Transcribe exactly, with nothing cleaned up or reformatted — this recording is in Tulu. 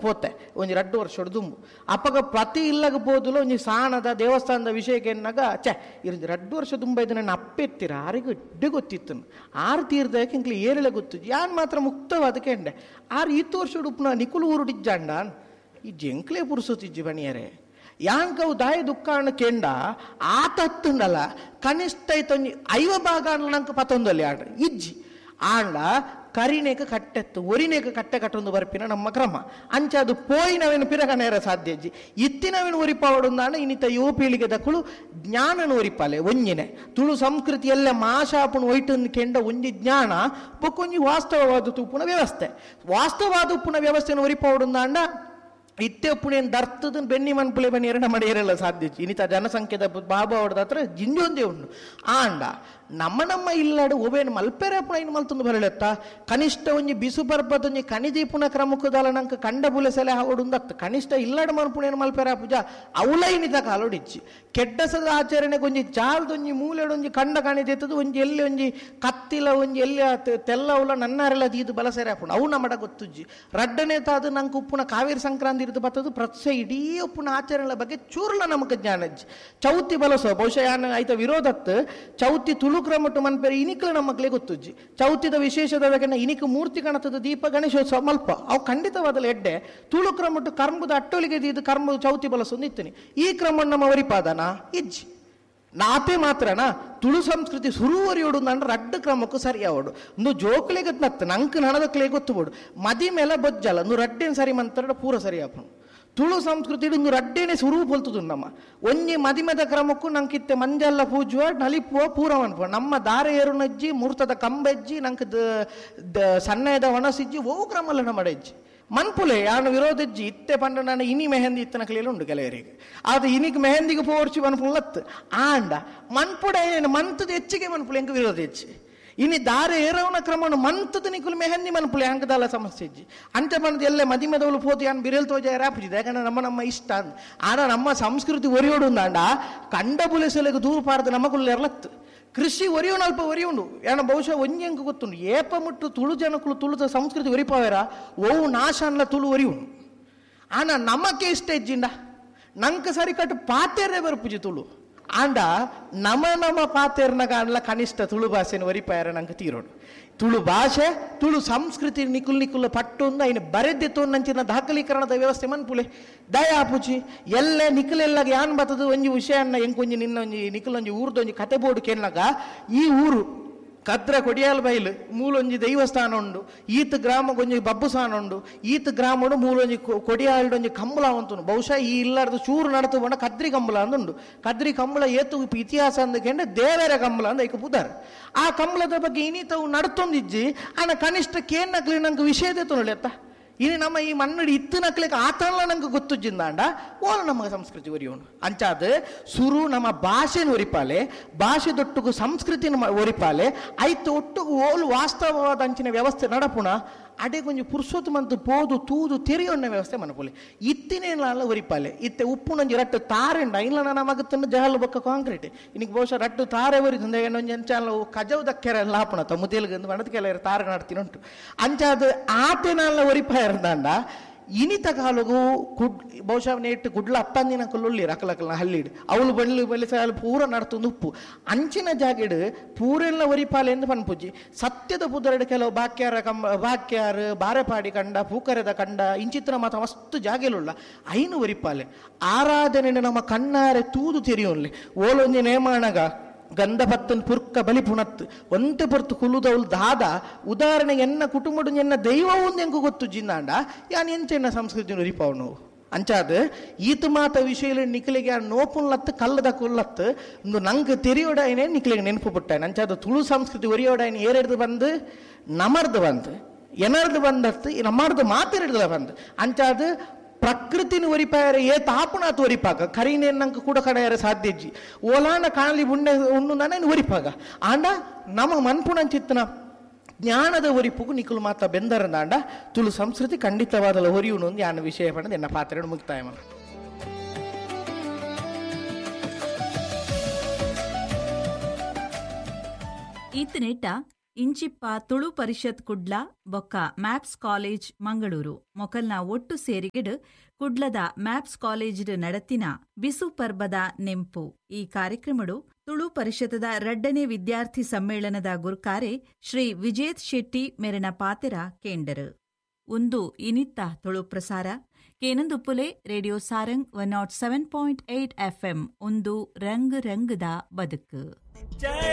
ಪೋತೆ ಒಂಜಿ ರಡ್ಡು ವರ್ಷ ದುಂಬು. ಅಪ್ಪಗ ಪ್ರತಿ ಇಲ್ಲಗ ಪೋದುಲ ಒಂಜಿ ಸಾಣದ ದೇವಸ್ಥಾನದ ವಿಷಯಕ್ಕೆ ಎನ್ನಾಗ ಛೆ ಇರಂಜಿ ರಡ್ಡು ವರ್ಷ ದುಂಬ ಇದು ನನ್ನ ಅಪ್ಪೆತ್ತಿರ ಆರಿಗೆ ಇಡ್ಡು ಗೊತ್ತಿತ್ತು. ಆರು ತೀರ್ದಕ್ಕೆ ಇಂಕ್ಲಿ ಏರಿಳೆ ಗೊತ್ತು ಯಾನ್ ಮಾತ್ರ ಮುಕ್ತವಾದ ಕೆಂಡೆ ಆರು ಇತ್ತು ವರ್ಷ ಉಡುಪುನ ನಿಕುಲು ಊರುಡಿಜ್ಜಾಂಡ ಈ ಜಂಕ್ಲೆ ಪುರುಸೊತ್ತಿಜ್ಜಿ ಬಣಿಯರೆ ಯಾಂಕವು ದಾಯ ದುಃಖಾಣ ಕೆಂಡ ಆತ ಹತ್ತುಂಡಲ್ಲ ಕನಿಷ್ಠ ಐತೊಂಜಿ ಐವ ಭಾಗ ನಂಗೆ ಪತ್ತೊಂದಲ್ಲಿ ಆಡ ಇಜ್ಜಿ ಆಂಡ ಕರಿನೇಕ ಕಟ್ಟೆತ್ತು ಒರಿನೇಕ ಕಟ್ಟೆ ಕಟ್ಟೊಂದು ಬರ್ಪಿನ ನಮ್ಮ ಕ್ರಮ ಅಂಚ ಅದು ಪೋಯಿನವೇನು ಪಿರಗನೇರ ಸಾಧ್ಯ ಅಜ್ಜಿ ಇತ್ತಿನವೇನು ಒರಿಪಾವಡುಂದಾಣ ಇನ್ನಿತ ಯುವ ಪೀಳಿಗೆ ದಕ್ಕಳು ಜ್ಞಾನನ ಒರಿಪಾಲೆ ಒಂಜಿನೆ ತುಳು ಸಂಸ್ಕೃತಿಯಲ್ಲ ಮಾಶಾಪುಣ ಒಯ್ಟನ್ನು ಕೆಂಡ ಒಂಜಿ ಜ್ಞಾನ ಬೊಕ್ಕೊಂಜಿ ವಾಸ್ತವವಾದ ತುಪ್ಪುನ ವ್ಯವಸ್ಥೆ ವಾಸ್ತವವಾದ ಉಪ್ಪುನ ವ್ಯವಸ್ಥೆನ ಒರಿಪಾವಡುಂದಾಂಡ ಇತ್ತೆ ಪುಣೆನ್ ದರ್ತದ ಬೆನ್ನಿ ಮನ್ಪುಲೆ ಬನ್ನಿ ಎರಡ ಮಡಿಯರೆಲ್ಲ ಸಾಧ್ಯ ಇನ್ನಿತ ಜನಸಂಖ್ಯೆದ ಬಾಬು ಅವರದ ಹತ್ರ ಜಿಂಜೊಂದೇ ಉಂಡು. ಆಂಡ ನಮ್ಮ ನಮ್ಮ ಇಲ್ಲಾಡು ಒಬೇನು ಮಲ್ಪೆರೆ ಪುಣ ಇನ್ನು ಮಲ್ತೊಂದು ಬರಲೆತ್ತ ಕನಿಷ್ಠ ಒಂಜಿ ಬಿಸು ಪರ್ಬದ ಒಂಜಿ ಕಣಿದೀಪುನ ಕ್ರಮಕ್ಕದಾಲ ನಂಗೆ ಕಂಡ ಬುಲೆಸಲೆ ಹಾವಡುಂದತ್ತು ಕನಿಷ್ಠ ಇಲ್ಲಾಡು ಮನ್ಪುಣೇನು ಮಲ್ಪೆರೆ ಪೂಜಾ ಅವಲ ಇನ್ನಿತ ಕಾಲೋಡಿಚ್ಚಿ ಕೆಡ್ಡಸದ ಆಚರಣೆಗೆ ಒಂಜಿ ಚಾಲ್ದೊಂಜಿ ಮೂಲೆಡೊಂಜಿ ಕಂಡ ಕಣಿದೀತದ ಒಂಜಿ ಎಲ್ಲಿ ಒಂಜಿ ಕತ್ತಿಲ ಒಂಜಿ ಎಲ್ಲಿ ತೆಲ್ಲವಲ ನನ್ನಾರೆಲ್ಲ ದೀದು ಬಲಸೆರೆ ಹಾಪುಣ ಅವು ನಮ್ಮಡ ಗೊತ್ತುಜ್ಜಿ. ರಡ್ಡನೇ ತಾದು ನಂಗೆ ಉಪ್ಪುನ ಕಾವೇರಿ ಸಂಕ್ರಾಂತಿ ಇರ್ದು ಬತ್ತದು ಪ್ರತ್ಯೇ ಇಡೀ ಉಪ್ಪುನ ಆಚರಣೆ ಬಗ್ಗೆ ಚೂರ್ಲ ನಮಕ್ ಜ್ಞಾನಜ್ಜಿ. ಚೌತಿ ಬಲಸೋ ಬಹುಶಃ ಯಾನ್ ಐತ ವಿರೋಧತ್ತು ಚೌತಿ ತುಳು ಕ್ರಮಟ್ಟು ಮನ್ಪೇರೆ ಇನಿಕ್ಲ ನಮ್ಮಕ್ಲೇ ಗೊತ್ತುಜ್ಜಿ. ಚೌತಿದ ವಿಶೇಷದ ಇನಿಕ್ ಮೂರ್ತಿ ಕಣತದ ದೀಪ ಗಣೇಶೋತ್ಸವ ಮಲ್ಪ ಅವು ಖಂಡಿತವಾದಲ ಎಡ್ಡೆ ತುಳು ಕ್ರಮಟ್ಟು ಕರ್ಮದ ಅಟ್ಟೊಲಿಗೆ ದೀದು ಕರ್ಮ ಚೌತಿ ಬಲಸೊಂದು ಇತ್ತನಿ ಈ ಕ್ರಮ ನಮ್ಮ ಒರಿಪಾದನ ಇಜ್ಜಿ ನಾತೆ ಮಾತ್ರನಾ ತುಳು ಸಂಸ್ಕೃತಿ ಸುರುವರಿಯೋಡು ನನ್ನ ರಡ್ಡು ಕ್ರಮಕ್ಕೂ ಸರಿ ಅವಡು ಒಂದು ಜೋಕ್ಲೆಗೆ ನತ್ತು ನಂಕ್ ನಣದಕ್ಲೆ ಗೊತ್ತುಬೋಡು ಮದಿ ಮೇಲೆ ಬೊಜ್ಜಲ್ಲ ಒಂದು ರಡ್ಡೇನು ಸರಿ ಮಂತ್ರ ಪೂರ ಸರಿ ಆಪನು ತುಳು ಸಂಸ್ಕೃತಿ ಒಂದು ರಡ್ಡೇನೆ ಸುರು ಪೊಲ್ತುದು ನಮ್ಮ ಒಂಜಿ ಮದಿಮದ ಕ್ರಮಕ್ಕೂ ನಂಕಿತ್ತೆ ಮಂಜಲ್ಲ ಪೂಜುವ ನಲಿಪುವ ಪೂರ ಮನ್ಪುವ ನಮ್ಮ ದಾರೆ ಏರುನಜ್ಜಿ ಮೂರ್ತದ ಕಂಬೆಜ್ಜಿ ನಂಗೆ ಸಣ್ಣದ ಒಣಸಿಜ್ಜಿ ಓವು ಕ್ರಮಲ್ಲ ನಮ್ಮ ಅಜ್ಜಿ ಮನ್ಪುಲೆ ಯಾನು ವಿರೋಧಜ್ಜಿ ಇತ್ತೆ ಪಂಡ ನಾನು ಇನಿ ಮೆಹಂದಿ ಇತ್ತನ ಕಲಿಯಲು ಉಂಡು ಕೆಲವರಿಗೆ ಅದು ಇನಿಗೆ ಮೆಹಂದಿಗೆ ಪೋರ್ಚಿ ಮನ್ಪುಲತ್ತು ಆಂಡ ಮನ್ಪುಡ ಏನು ಮಂತದ ಹೆಚ್ಚಿಗೆ ಮನ್ಪುಲೆ ಎಂಕ ವಿರೋಧ ಹೆಚ್ಚಿ ಇನಿ ದಾರೆ ಏರವನ ಕ್ರಮನು ಮಂತದ ನಿಕುಲು ಮೆಹಂದಿ ಮನ್ಪುಲೆ ಅಂಕದಲ್ಲ ಸಮಸ್ಯೆ ಇಜ್ಜಿ ಅಂಚ ಬಂದು ಎಲ್ಲ ಮದಿಮದವಳು ಪೋತು ಯಾನ್ ಬಿರೇಲ್ ತೋಜ ರಾಪುಜಿದೆ ಯಾಕಂದ್ರೆ ನಮ್ಮ ನಮ್ಮ ಇಷ್ಟ ಅಂದ್ ಆಡ ನಮ್ಮ ಸಂಸ್ಕೃತಿ ಒರಿಯೋಡು ಅಂಡ ಕಂಡ ಬುಲೆಸಲೆಗೆ ದೂರು ಪಾರ್ದು ನಮಗುಲ್ಲ ಎರಲತ್ತು ಕೃಷಿ ಒರಿಯೋಣ ಅಲ್ಪ ಒರಿಯುಂಡು ಏನ ಬಹುಶಃ ಒಂಜೆಂಕ ಗೊತ್ತುಂಡು ಏಪ ಮುಟ್ಟು ತುಳು ಜನಕುಲು ತುಳುದ ಸಂಸ್ಕೃತಿ ಒರಿಪಾವೇರ ಓವು ನಾಶನ್ಲ ತುಳು ಒರಿಯುಂಡು ಆನ ನಮಕ್ಕೆ ಇಷ್ಟ ಇಜ್ಜಿಂಡ ನಂಕ ಸರಿ ಕಟ್ಟು ಪಾತೇರೆ ಬರ್ಪುಜಿ ತುಳು ಆಂಡ ನಮ ನಮ ಪಾತೇರ್ನ ಕಾಣಲ ಕನಿಷ್ಠ ತುಳು ಭಾಷೆನ ಒರಿಪಾಯರ ನಂಗೆ ತೀರೋಡು ತುಳು ಭಾಷೆ ತುಳು ಸಂಸ್ಕೃತಿ ನಿಕುಲ್ ನಿಕುಲ್ ಪಟ್ಟೊಂದು ಐನು ಬರೆದಿತ್ತು ನಂಚಿನ ದಾಖಲೀಕರಣದ ವ್ಯವಸ್ಥೆ ಮನ್ಪುಲೆ ದಯಾಪುಚಿ ಎಲ್ಲ ನಿಕುಲೆಲ್ಲ ಯಾನ್ ಬತ್ತದು ಒಂಜಿ ವಿಷಯನ್ನ ಎಂಕೊಂಜಿ ನಿನ್ನ ಒಂಜಿ ನಿಕುಲೊಂಜಿ ಊರ್ದೊಂಜಿ ಕತೆ ಬೋರ್ಡು ಕೆನ್ನಾಗ ಈ ಊರು ಕದ್ರ ಕೊಡಿಯಾಲ್ ಬೈಲು ಮೂಲೊಂಜಿ ದೈವಸ್ಥಾನ ಉಂಡು ಈತ ಗ್ರಾಮಗೊಂಜಿ ಬಬ್ಬುಸಾನ ಉಂಡು ಈತ ಗ್ರಾಮಡು ಮೂಲೊಂಜಿ ಕೊಡಿಯಾಲ್ಡೊಂಜಿ ಕಂಬಳ ಅಂತುಂಡು ಬಹುಶಃ ಈ ಇಲ್ಲಾರ್ದು ಚೂರು ನಡತು ಬಂಡ ಕದ್ರಿ ಕಂಬಳ ಅಂದುಂಡು ಕದ್ರಿ ಕಂಬಳ ಏತು ಇತಿಹಾಸ ಅಂದಕೆಂಡ ದೇವರ ಕಂಬಳ ಅಂದ ಐಕ ಪುದಾರ್ ಆ ಕಂಬಳದ ಬಗ್ಗೆ ಇನ್ನಿತವು ನಡ್ತೊಂದಿಜ್ಜಿ ಆನ ಕನಿಷ್ಠ ಕೇನ್ನಕ್ಲಿ ನಂಗೆ ವಿಷಯದೇ ತೊಗೊಳ್ಳಿ ಅತ್ತ ಇನ್ನು ನಮ್ಮ ಈ ಮನ್ನಡಿ ಇತ್ತು ನಕ್ಲಿಕ್ಕೆ ಆತನಲ್ಲ ನಂಗೆ ಗೊತ್ತುಜ್ಜಿಂದಾಂಡ ಓಲ ನಮ್ಮ ಸಂಸ್ಕೃತಿ ಒರಿಯೋನು ಅಂಚಾದ ಸುರು ನಮ್ಮ ಭಾಷೆನ ಒರಿಪಾಲೆ ಭಾಷೆ ದೊಟ್ಟುಗು ಸಂಸ್ಕೃತಿನ ಒರಿಪಾಲೆ ಐತು ಒಟ್ಟುಗು ಓಲು ವಾಸ್ತವವಾದ ಅಂಚಿನ ವ್ಯವಸ್ಥೆ ನಡಪುಣ ಅಡೆ ಕೊಂಚ ಪುರುಷೋತ್ತು ಮಂತು ಪೋದು ತೂದು ತೆರೆಯೊಣ್ಣ ವ್ಯವಸ್ಥೆ ಮನಪುಲೆ ಇತ್ತಿನೇನಲ್ಲ ಒರಿಪಾಲೆ ಇತ್ತೆ ಉಪ್ಪುನೊಂಜಿ ರಟ್ಟು ತಾರೆಂಡ ಇಲ್ಲ ನಮಗ ತಿನ್ನ ಜಹಲ್ ಬೊಕ್ಕ ಕಾಂಕ್ರೀಟ್ ಇನ್ನಿಗೆ ಬಹುಶಃ ರಟ್ಟು ತಾರೆ ಒರಿತಂದೆ ಒಂಜಿ ಅಂಚಾಲ ಕಜವು ದಕ್ಕೆರೆ ಎಲ್ಲ ಹಾಪುಣ ತಮ್ಮುತೇಲ್ಗಂದು ಬಣದ ಕೆಲವರು ತಾರ ನಡ್ತೀನಿ ಉಂಟು ಅಂಚಾದ ಆತೇನಲ್ಲ ಒರಿಪಾಯರ್ದಾಂಡ ಇನಿತ ಕಾಲಗು ಕುಡ್ ಬಹುಶಃ ನೇಟ್ ಗುಡ್ಲ ಅತ್ತಂದಿನ ಕಲ್ಲುಳ್ಳಿ ರಕಲಕಲ್ನ ಹಲ್ಲಿಡು ಅವಳು ಬಳ್ಳಿ ಬಳ್ಳಿ ಸಾಲು ಪೂರ ನಡ್ತೊಂದು ಉಪ್ಪು ಅಂಚಿನ ಜಾಗಿಡು ಪೂರೆಲ್ಲ ಒರಿಪಾಲೆ ಎಂದು ಪನ್ಪುಜ್ಜಿ ಸತ್ಯದ ಪುದರಡು ಕೆಲವು ಬಾಕ್ಯಾರ ಕಂಬ ಬಾಕ್ಯಾರು ಬಾರೆಪಾಡಿ ಕಂಡ ಪೂಕರೆದ ಕಂಡ ಇಂಚಿತ್ರ ಮಾತ ಮಸ್ತು ಜಾಗೆಲುಳ್ಳ ಐನು ಒರಿಪಾಲೆ ಆರಾಧನೆ ನಮ್ಮ ಕಣ್ಣಾರೆ ತೂದು ತೆರೆಯೋನ್ಲಿ ಓಲೊಂಜಿ ನೇಮಾಣಗ ಗಂಧಭತ್ತನ್ ಪುರ್ಕ ಬಲಿ ಪುಣತ್ತು ಒಂತೆ ಪೊರ್ತು ಕುಲುದವಳು ದಾದ ಉದಾಹರಣೆಗೆ ಎನ್ನ ಕುಟುಂಬಡು ಎನ್ನ ದೈವವು ಎಂಕು ಗೊತ್ತು ಜಿನ್ನಾಂಡ ಯಾನ್ ಎಂಚೆನ್ನ ಸಂಸ್ಕೃತಿ ಒರಿಪಾವನು ಅಂಚಾದ ಈತ ಮಾತ ವಿಷಯ ನಿಖಲಿಗೆ ಆ ನೋಪುನ್ಲತ್ತು ಕಲ್ಲದ ಕುಲ್ಲತ್ತು ಒಂದು ನಂಗೆ ತೆರಿಯೋಡಾಯನೇ ನಿಖಲಿಗೆ ನೆನಪು ಪುಟ್ಟಾಯನ ಅಂಚಾದ ತುಳು ಸಂಸ್ಕೃತಿ ಒರಿಯೋಡಾಯನ ಏರೆಡ್ದು ಬಂದು ನಮರ್ದು ಬಂದು ಎನರ್ದು ಬಂದತ್ತು ನಮ್ಮರ್ದು ಮಾತೆರಡ್ದು ಬಂದು ಅಂಚಾದ ಪ್ರಕೃತಿನ ಒರಿಪಾಯರ ಏ ತಾಪುನಾತು ಒರಿಪಾಗ ಕರೀನೇ ನಂಗೆ ಕೂಡ ಕಡೆಯರ ಸಾಧ್ಯ ಇಜ್ಜಿ ಓಲಾನ ಕಾಣಲಿ ಉಣ್ಣೆ ಉಣ್ಣು ನಾನೇನು ಒರಿಪಾಗ ಆಂಡ ನಮ್ಮ ಮನ್ಪುಣಂಚಿತ್ತನ ಜ್ಞಾನದ ಒರಿಪುಗು ನಿಕುಲು ಮಾತ ಬೆಂದರಂದಾಂಡ ತುಳು ಸಂಸ್ಕೃತಿ ಖಂಡಿತವಾದಲ ಒರಿಯುನು ಒಂದು ಯಾನ ವಿಷಯ ಪಡೆದು ಎನ್ನ ಪಾತ್ರ ಮುಕ್ತಾಯ ಮನ. ಈತನೇಟ ಇಂಚಿಪ್ಪ ತುಳು ಪರಿಷತ್ ಕುಡ್ಲ ಬೊಕ್ಕ ಮ್ಯಾಪ್ಸ್ ಕಾಲೇಜ್ ಮಂಗಳೂರು ಮೊಕಲ್ನ ಒಟ್ಟು ಸೇರಿಗೆಡ್ ಕುಡ್ಲದ ಮ್ಯಾಪ್ಸ್ ಕಾಲೇಜ್ಡ್ ನಡತಿನ ಬಿಸು ಪರ್ಬದ ನೆಂಪು ಈ ಕಾರ್ಯಕ್ರಮಡು ತುಳು ಪರಿಷತ್ದ ರಡ್ಡನೇ ವಿದ್ಯಾರ್ಥಿ ಸಮ್ಮೇಳನದ ಗುರ್ಕಾರೆ ಶ್ರೀ ವಿಜೇತ್ ಶೆಟ್ಟಿ ಮೆರನ ಪಾತೆರ ಕೇಂಡರು. ಒಂದು ಇನಿತ್ತ ತುಳು ಪ್ರಸಾರ ಕೇನಂದುಪ್ಪುಲೆ radio Sarang one nought seven point eight FM ಒಂದು ರಂಗ್ ರಂಗದ ಬದುಕು.